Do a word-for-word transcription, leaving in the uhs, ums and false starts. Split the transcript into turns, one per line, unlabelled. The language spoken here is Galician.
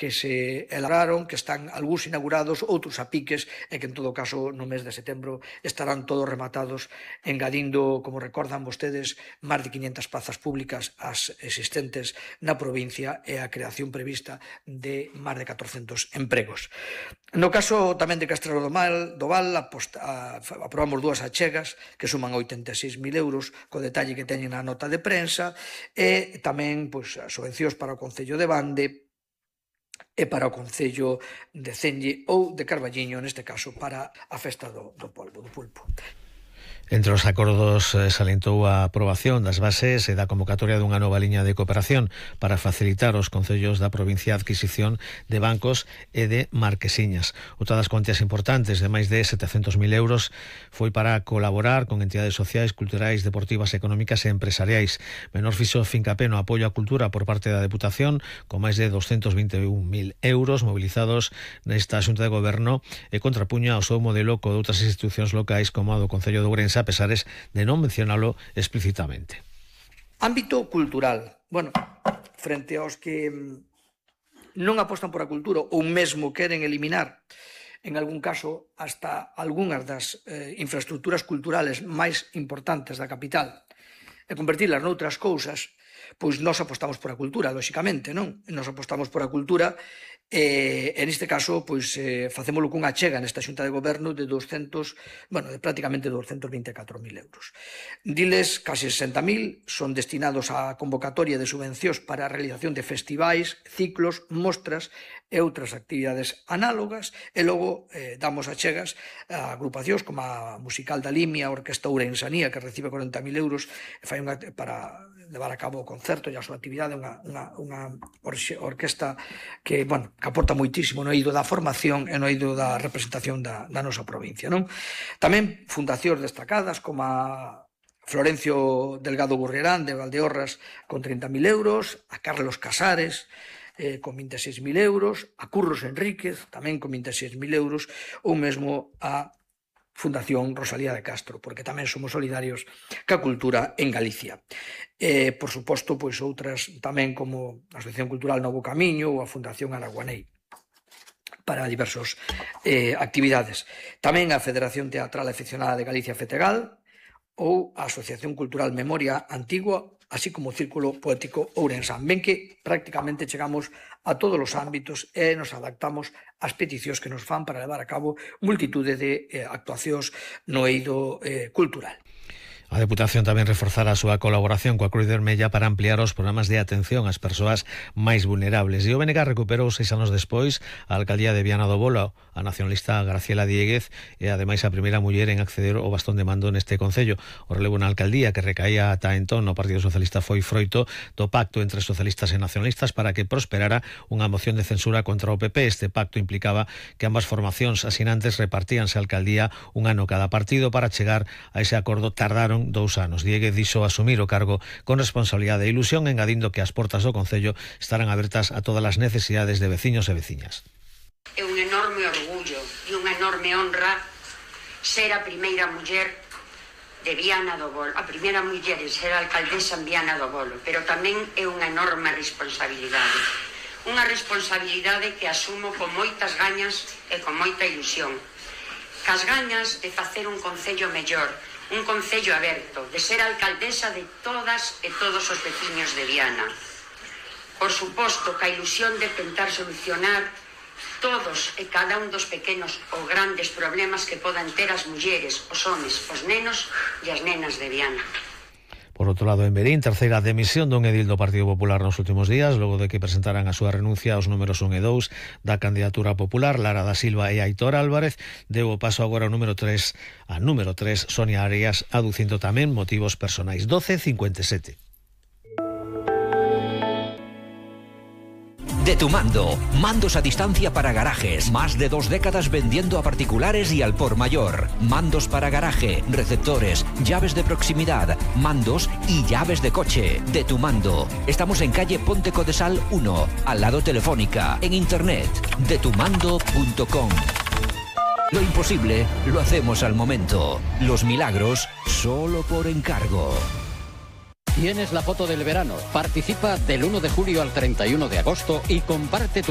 que se elaboraron, que están algúns inaugurados, outros a piques, e que en todo caso no mes de setembro estarán todos rematados, engadindo, como recordan vostedes, máis de quinhentas plazas públicas as existentes na provincia e a creación prevista de máis de catrocentos empregos. No caso tamén de Castrelo do Val, do Val aposta, a, aprobamos dúas achegas que suman oitenta e seis mil euros, co detalle que teñen na nota de prensa, e tamén pois, as subvencións para o Concello de Bande e para o Concello de Cenlle ou de Carballiño, neste caso para a festa do, do polvo, do pulpo.
Entre os acordos eh, salientou a aprobación das bases e da convocatoria dunha nova liña de cooperación para facilitar aos concellos da provincia a adquisición de bancos e de marquesiñas. Outra das cuantías importantes de máis de setecentos mil euros foi para colaborar con entidades sociais, culturais, deportivas, económicas e empresariais. Menor fixo fincapé no apoio á cultura por parte da Deputación, con máis de doscientos vinte e un mil euros mobilizados nesta Xunta de Goberno, e contrapuña ao seu modelo co de outras institucións locais como a do Concello de Ourense, a pesares de non mencionalo explícitamente.
Ámbito cultural. Bueno, frente aos que non apostan por a cultura ou mesmo queren eliminar, en algún caso, hasta algunhas das eh, infraestructuras culturales máis importantes da capital e convertilas noutras cousas, pois nós apostamos por a cultura, lóxicamente, non? Nós apostamos por a cultura e, en este caso, pois, eh, facémolo cunha achega nesta Xunta de Goberno de doscientos, bueno, de prácticamente doscientos vinte e catro mil euros. Diles, casi sesenta mil son destinados á convocatoria de subvencións para a realización de festivais, ciclos, mostras e outras actividades análogas, e logo eh, damos achegas a agrupacións como a Musical da Limia, a Orquesta Ourensanía, que recibe corenta mil euros e fai unha, para levar a cabo o concerto e a súa actividade, unha, unha, unha orquesta que, bueno, que aporta moitísimo no eido da formación e no eido da representación da, da nosa provincia, non? Tamén fundacións destacadas como a Florencio Delgado Gurriarán de Valdeorras con trinta mil euros, a Carlos Casares eh, con vinte e seis mil euros, a Curros Enríquez tamén con vinte e seis mil euros, ou mesmo a Fundación Rosalía de Castro, porque tamén somos solidarios ca cultura en Galicia. E, por suposto, pois outras tamén como a Asociación Cultural Novo Camiño ou a Fundación Araguanei para diversas eh, actividades. Tamén a Federación Teatral Aficionada de Galicia Fetegal ou a Asociación Cultural Memoria Antigua, así como o Círculo Poético Ourensán. Ben que prácticamente chegamos a todos os ámbitos e nos adaptamos ás peticións que nos fan para levar a cabo multitude de eh, actuacións no eido eh, cultural.
A Deputación tamén reforzará a súa colaboración coa Cruz Vermella para ampliar os programas de atención ás persoas máis vulnerables. E o B N G recuperou seis anos despois a alcaldía de Viana do Bolo, a nacionalista Graciela Dieguez e ademais a primeira muller en acceder ao bastón de mando neste concello. O relevo na alcaldía que recaía ata entón no Partido Socialista foi froito do pacto entre socialistas e nacionalistas para que prosperara unha moción de censura contra o P P. Este pacto implicaba que ambas formacións asinantes repartíanse a alcaldía un ano cada partido. Para chegar a ese acordo tardaron dous anos. Dieguez dixo asumir o cargo con responsabilidade e ilusión, engadindo que as portas do Concello estarán abertas a todas as necesidades de veciños e veciñas.
É un enorme orgullo e unha enorme honra ser a primeira muller de Viana do Bolo, a primeira muller en ser alcaldesa en Viana do Bolo, pero tamén é unha enorme responsabilidade. Unha responsabilidade que asumo con moitas gañas e con moita ilusión. Cas gañas de facer un concello mellor, un concello aberto, de ser alcaldesa de todas e todos os veciños de Viana. Por suposto, ca ilusión de tentar solucionar todos e cada un dos pequenos ou grandes problemas que podan ter as mulleres, os homes, os nenos e as nenas de Viana.
Por outro lado, en Verín, terceira demisión dun edil do Partido Popular nos últimos días, logo de que presentaran a súa renuncia aos números un e dous da candidatura popular. Lara da Silva e Aitor Álvarez deu o paso agora ao número tres, a número tres, Sonia Arias, aducindo tamén motivos personais. doce cincuenta e sete.
De tu mando, mandos a distancia para garajes, más de dos décadas vendiendo a particulares y al por mayor. Mandos para garaje, receptores, llaves de proximidad, mandos y llaves de coche. De tu mando. Estamos en calle Ponte Codesal uno, al lado Telefónica, en internet, de tu mando punto com. Lo imposible lo hacemos al momento. Los milagros solo por encargo.
Tienes la foto del verano. Participa del uno de julio al treinta y uno de agosto y comparte tu